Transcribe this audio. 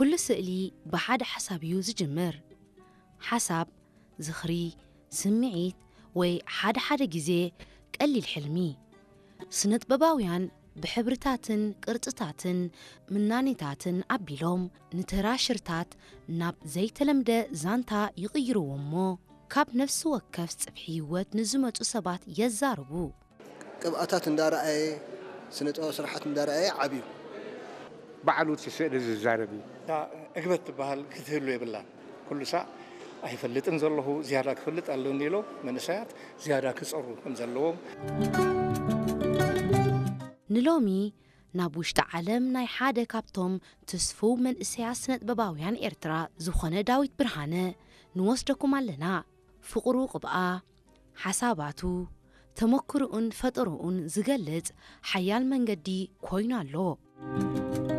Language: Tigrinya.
ኩሉ ስእሊ ብሓደ ሓሳብ እዩ ዝጅምር። ሓሳብ፣ ዝኽሪ፣ ስምዒት፣ ወይ ሓደ ሓደ ግዜ ቀሊል ሕልሚ። ስነጥበባውያን ብሕብርታትን ቅርጽታትን ምናኔታትን ኣቢሎም ንተራ ሽርታት ናብ ዘይተለምደ ዛንታ ይቕይርዎ እሞ፣ ካብ ነፍሲ ወከፍ ጽፍሒ ህይወት ንዝመጹ ሰባት የዛርቡ። ቅብኣታት እንዳረኣየ፣ ስነ ጥበብ ስራሓት እንዳረኣየ ዓብዩ። ባዕሉ እቲ ስእሊ ዝዛረብ እዩ። እታ ዕግበት ትበሃል ክትህሉ የብላን። ኩሉ ሳዕ ኣይፈልጥን ዘለኹ፣ ዝያዳ ክፈልጥ ኣለኒ ኢሎም መንእሰያት ዝያዳ ክጸሩ ከም ዘለዎም። ንሎሚ ናብ ውሽጢ ዓለም ናይ ሓደ ካብቶም ትስፉው መንእሰያት ስነጥበባውያን ኤርትራ ዝኾነ ዳዊት ብርሃነ ንወስደኩም ኣለና። ፍቕሩ ቅብኣ፣ ሓሳባቱ፣ ተመክሮኡን ፈጠሮኡን ዝገልጽ ሓያል መንገዲ ኮይኑ ኣሎ።